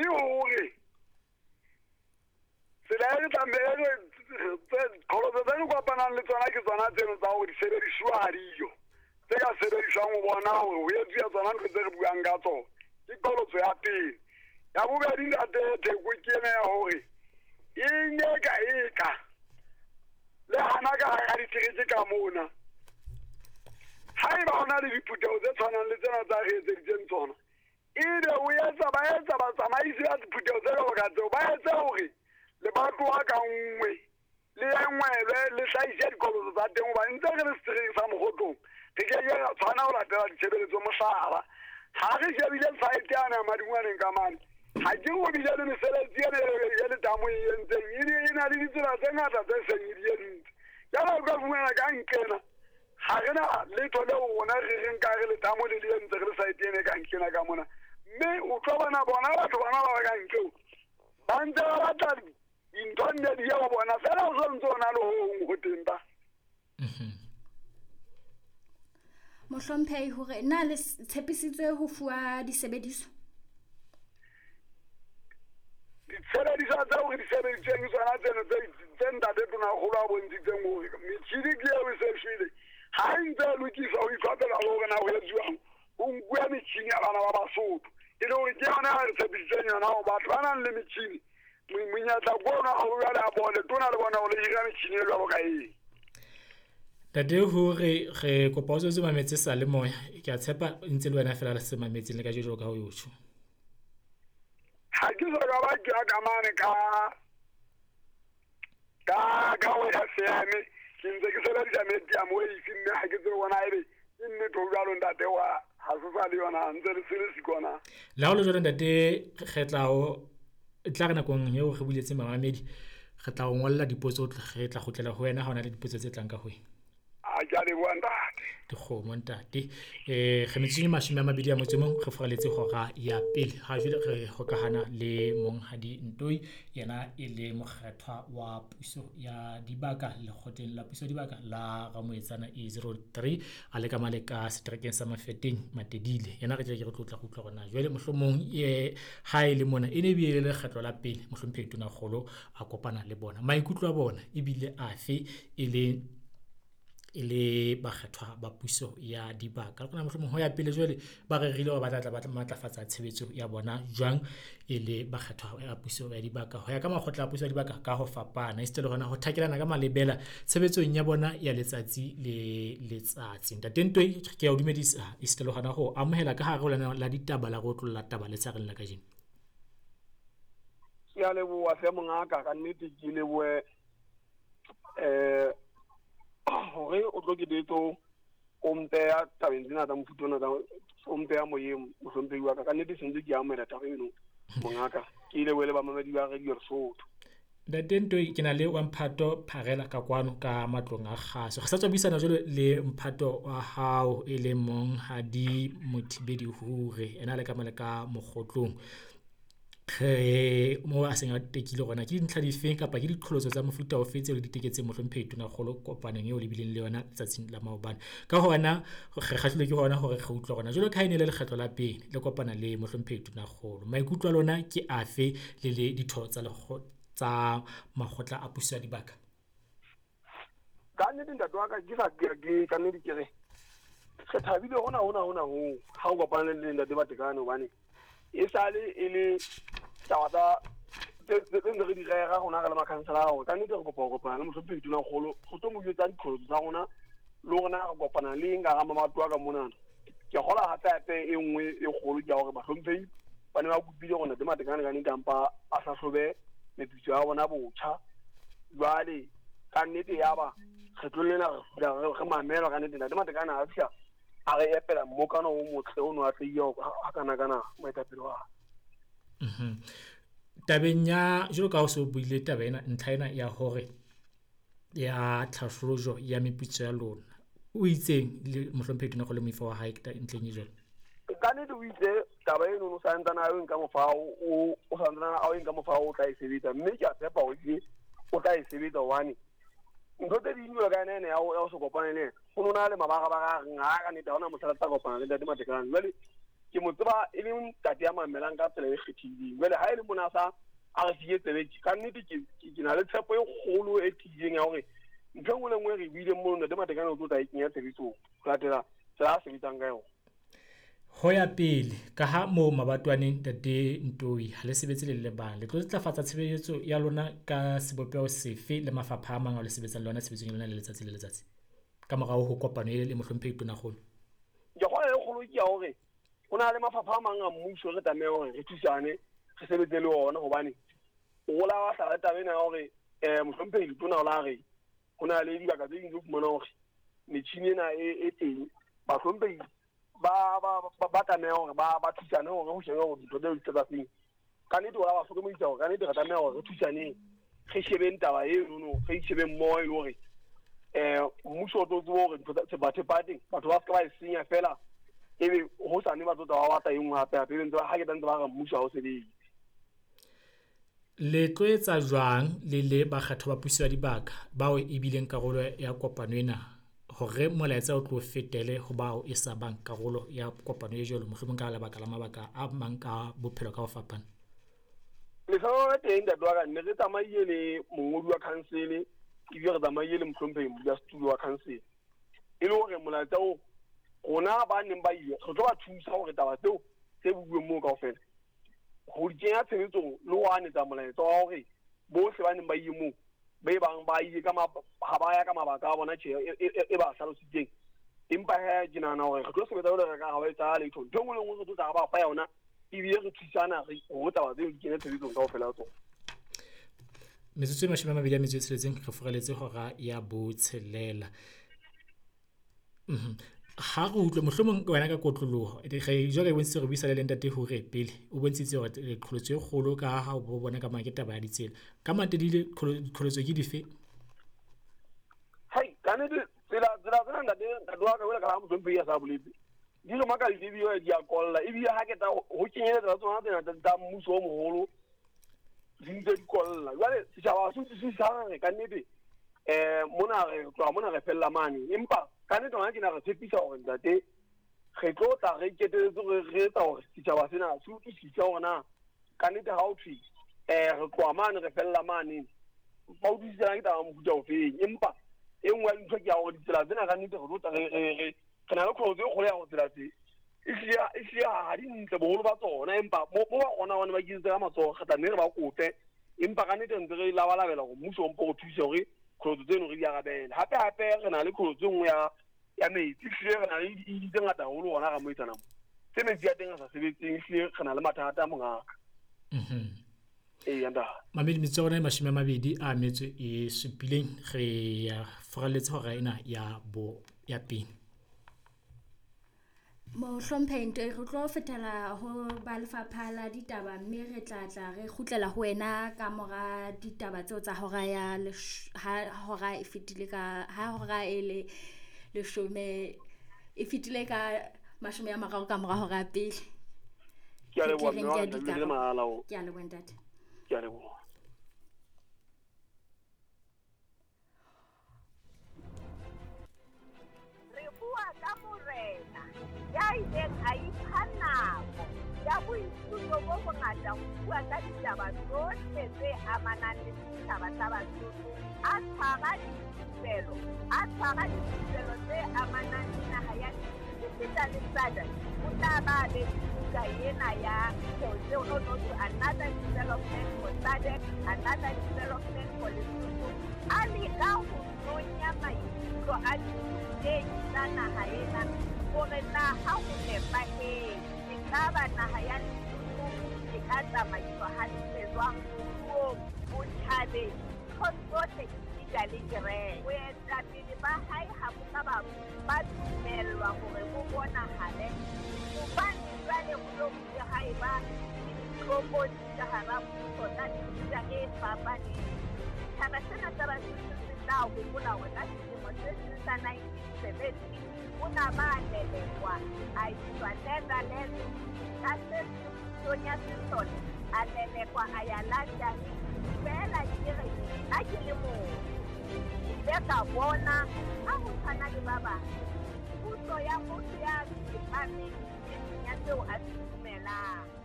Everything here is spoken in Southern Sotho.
Ke hore tsela e re tlameha qholotso tse re kopanang le tsona ke tsona tseno tsa hore disebedisuwa ha diyo tse ka sebediswang ho bona hore ho etsuwa tsona ntho tse re buang ka tsona. Ke qholotso ya pele. Ya bobedi, ntate Theko, ke ena ya hore e nyeka eka le hana ka hara ditereke ka mona, haeba ho na le diphutheho tse tshwanang le tsena tsa re etseditseng tsona, ebe o etsa ba etsa batsamaisi ba diphutheho tse jwalo ka tseo, ba etse hore lebatowa ka nngwe le engwelwe le hlahise diqholotso tsa teng, hobane ntse re le seterekeng sa Mokgotlong re ke ke ra tshwana ho latela ditshebeletso. Mohlala, ha re shebile site yane ya Madingwaneng ka mane, ha ke ho bile le mesebetsi ena e letamo e entseng, e na le ditsela tse ngata tse seng e di entse. Jwale o ka fumana ka nqena ha re na letho leo rona re reng ka re letamo le le entse re le site ena e ka nqena ka mona, mme o tlo bona bona batho bana ba ba ka nqeo ba ntse ba batla dintho nne di ye ho bona fela, o so ntse o na le ho hong ho teng ba. Mohlomphehi, hore na le tshepisitswe ho fuwa disebediswa? Ditshebediswa tseo re di sebeditseng tsona tseno tse ntate Tonakgolo a bontshitseng hore metjhini ke eo e se shwele, ha e ntse e lokiswa ho itlhophela le hore na ho etsuwang, ho nkuwa metjhini ya bana ba Basotho, e le hore ke yona ya re tshepisitseng yona hore batho ba nang le metjhini monyetla ke ona hore jwale a bone tona le bona hore le hira metjhini e jwalo ka eng. Ntate, hore re kopa o tswetse mametse sa le moya, ke a tshepa ntse le wena fela le se mametseng le ka jwalo ka ho yotjho. Ha ke so ka ba ke ya ka mane ka ho FM, ke ntse ke sebedisa medium wave, mme ha ke tsebe bona ebe ke nnete ho jwalo ntate wa ha se sa le yona ntse le se le sikona. Le ha o le jwalo ntate, re tla o tla re nakong eo re buletseng bamamedi, re tla o ngolla dipotso, re tla kgutlela ho wena ha hona le dipotso tse tlang ka ho wena. A ke a leboha ntate. Dikgomo ntate. Re metsotsong e 21 re furaletse hora ya pele. Ha jwale re hokahana le Monghadi Ntoi, yena e le mokgethwa wa puso ya dibaka lekgotleng la puso ya dibaka la Ramoetsana E03, a le ka male ka seterekeng sa Mafeteng Matedile. Yena re tle ke re tlotla go utlwa hore na jwale mohlomong ha e le mona e ne bile le lekgetlo la pele mohlomphehi Tonakgolo a kopana le bona. Maikutlo a bona ebile afe e le bakgethwa ba puso ya dibaka. Le kgona mohlomong ho ya pele jwale ba rerile hore ba tla tla ba matlafatsa tshebetso ya bona jwang e le bakgethwa ya puso ya dibaka ho ya ka makgotla a puso ya dibaka ka ho fapana, esita le hona ho thakelana ka malebela tshebetsong ya bona ya letsatsi le letsatsi. Ntate Ntoi, ke a o dumedisa esita le hona ho amohela ka hare ho lenaneo la ditaba la go otlolla taba letshareng la kajeno. Ke a leboha hle mongaka, ka nnete ke lebohe hore o tlo ke betso o mpeya tabeng tsena tsa mofuta ona tsa o mpeya moyeng mohlomphehi wa ka. Ka nnete se ntse ke amohela taba eno mongaka, ke lebohe le bamamedi ba Radio Lesotho. Ntate Ntoi, ke na le wa Mphato Pharela ka kwano ka matlong a kgaso. Re sa tswa buisana jwalo le mphato wa hao e leng Monghadi Mothibedi Hure, ena le ka male ka Mokgotlong. Re mo a seng a tekile hore na ke dintlha difeng kapa ke diqholotso tsa mofuta ofe tseo le di teketseng mohlomphehi Tonakgolo kopanong eo le bileng le yona letsatsing la maobane. Ka hona re kgahlilwe ke hona hore re utlwe hore na jwalo ka ha e ne le lekgetlo la pele le kopana le mohlomphehi Tonakgolo, maikutlo a lona ke afe le le ditho tsa tsa makgotla a puso ya dibaka? Ka nnete ntate wa ka, ke sa ke ka nnete ke re re thabile hona hona hona ho ha o kopana le ntate Matekane, hobane e sale e le taba tsa tse ntse re di rera rona re le makhansela hore ka nnete re kopa ho kopana le mohlomphehi Tonakgolo go tlo mo jwetsa diqholotso tsa rona le hore na re kopana le eng ka hara mabatowa ka monana. Ke kgola hape hape e nngwe e kgolo ke ya hore bahlomphehi ba ne ba kopile hore ntate Matekane ka nnete ampa a hlahlobe meputso ya bona botjha. Jwale ka nnete ya ba kgetlong lena re mamela ka nnete ntate Matekane a fihla a re epela mmokano o motle o no atlehile ha kana kana moetapele wa. Tabeng ya jwalo ka ha o so buile taba ena, ntlha ena ya hore ya tlhahlojo ya meputso ya lona, o itseng le mohlomphehi Tonakgolo moifo wa hae ntlheng e jwalo? Ka nnete o itse taba eno o santsane a o nka mofa o santsane a o nka mofa o tla e sebetsa, mme ke a tshepa hore ke o tla e sebetsa hobane ntho tse ding jwalo ka ena ena ya ho se kopane le yena, ho no na le mabarabara a reng ha ka nnete ha hona mohla re tla kopana le ntate Matekane. Jwale Ke mo tseba e le ntate ya mamelang ka tsela e kgethileng. Jwale ha e le mona sa a re fie tsebe ka nnete ke na le tshepo e kgolo e tiileng ya hore ntho e nngwe le nngwe re buileng mono Ntate Matekane o tlo tla e kenya tshebetsong ho latela tsela a sebetsang ka yona. Ho ya pele ka ha moo mabatwaneng Ntate Ntoi ha le sebetse le le bang, le tlo ntlafatsa tshebeletso ya lona ka sebopeho sefe le mafapha a mang ao le sebetsang le ona tshebetsong ya lona le letsatsi le letsatsi ka morao ho kopano e le mohlomphehi Tonakgolo? Ke kgona e kgolo ke ya hore ho na le mafapha a mang a mmuso re tlameha hore re thusane re sebetse le ona, hobane o la wa hlala taba ena ya hore mohlomphehi Letona o la re ho na le dibaka tse ding tse fumanang hore metjhini ena e teng, bahlomphehi ba tlameha hore ba thusane hore ho shebe hore dintho tseo di tla feng. Ka nnete o la ba hlokomedisa hore ka nnete re tlameha hore re thusaneng, re shebeng taba eno, re shebeng mmoho e le hore mmuso o tlo tseba hore ntho tsa thepa teng batho ba se ka ba e senya fela, ebe hosane ba tlo tla ba batla e nngwe hape hape, ebe ntse ha ke tla ntse ba re mmuso ha o sebetse. Le tlo etsa jwang le le bakgatho ba puso ya dibaka bao e bileng karolo ya kopano ena hore molaetsa o tlo fetele ho bao e sa bang karolo ya kopano e jwalo, mohlomong ka lebaka la mabaka a mang ka bophelo ka ho fapana? Lehlohonolo le teng ntate wa ka, ne re tsamaile le mongodi wa council ebile re tsamaile le mohlomphehi modulasetulo wa council, e le hore molaetsa oo rona ba neng ba ile re tlo ba thusa hore taba tseo tse buuweng moo kaofela ho di kenya tshebetsong le ho anetsa molaetsa wa hore bohle ba neng ba ile moo ba e bang ba ile ka ha ba ya ka mabaka a bona tjhe e ba hlalositseng. Empa he ke nahana hore re tlo sebetsa jwalo ka ha ba etsa letho, ntho e nngwe le nngwe re tlo tla ba fa yona ebile re thusana hore taba tseo di kene tshebetsong kaofela tsona. Metsotso e 26 re furaletse hora ya 6. Ha re utlwe mohlomong wena ka kotloloho re jwale e bontshitse re buisana le Ntate Hure pele, o bontshitse hore qholotso e kgolo ka ha o bona ka mang ke taba ya ditsela. Ka Matedile qholotso ke dife? Hai, ka nnete tsela tsena ntate wa ka ka ha mohlomphehi a sa boletse di re makaditse ebile di a kolla, ebile ha ke tla ho kenyeletsa tsona tsena tsa mmuso o moholo di ntse di kolla. Jwale setjhaba se utlwisisa hore ka nnete mona re tloha mona re fella mane, empa ka nnete hona tjena re tshepisa hore ntate re tlo tla re iketeletse re etsa hore setjhaba sena se utlwisise hore na ka nnete ha ho thwe re tloha mane re fella mane, ba utlwisisana ke taba mofuta ofeng. Empa e nngwe ya dintho ke ya hore ditsela tsena ka nnete re tlo tla re na le qholotso e kgolo ya hore tsela tse ehlile ha di ntle boholo ba tsona, empa mo ba kgona hobane ba iketsetse ka matsoho re tla nne re ba kope, empa ka nnete ntse re labalabela hore mmuso o mpo re thuse hore qholotso tseno re di arabele. Hape hape re na le qholotso e nngwe ya metsi, ehlile re na le di tse ngata haholo hona Ramoetsana mo tse metsi ya teng a sa sebetseng, ehlile re na le mathata a mongaka. Ee, ntate. Mamedi, metsotso ya rona e 27 re ya furaletse hora ena ya pele. Mohlomphehi Ntoi, re tlo fetela ho ba lefapha la ditaba mme re tla tla re kgutlela ho wena ka mora ditaba tseo tsa hora ya ha hora e fetile ka ha hora e le leshome e fetile ka 30 ka mora hora ya pele. Ke a leboha mme wa ka, Ke a leboha ntate. Ke a leboha. Re bua ka morena ya ileng a ipha nako ya boithuto bo bongata ho bua ka ditaba tsohle tse amanang le setjhaba sa Basotho, a tshwara dithupelo tse amanang le naha ya Lesotho le SADC. O tla ba be buka ena ya Another Development for SADC, Another Development for Lesotho. A leka ho nonya maikutlo a dirutehi tsa naha ena hore na ha ho nepahetse ekaba naha ya Lesotho e ka tsamaiswa hantle jwang moruong, botjhabeng, nthong tsohle esita le kereke. Boetapele ba hae ha bo ka ba dumellwa hore bo bonahale hobane jwale ho lo bile ha eba le ditlokotsi ka hara mmuso tsa mefuta e fapaneng. Setjhaba sena sa Basotho se tla hopola hore ka selemo se seng sa 1970 o na ba lelekwa a iswa Netherlands, ka se pusong ya sesole a lelekwa a ya London. Feela ke re nna ke le motho ke ile ka bona ha ho tshwana le ba bang puso ya motho ya tsepameng e seng ya seo a se dumelang.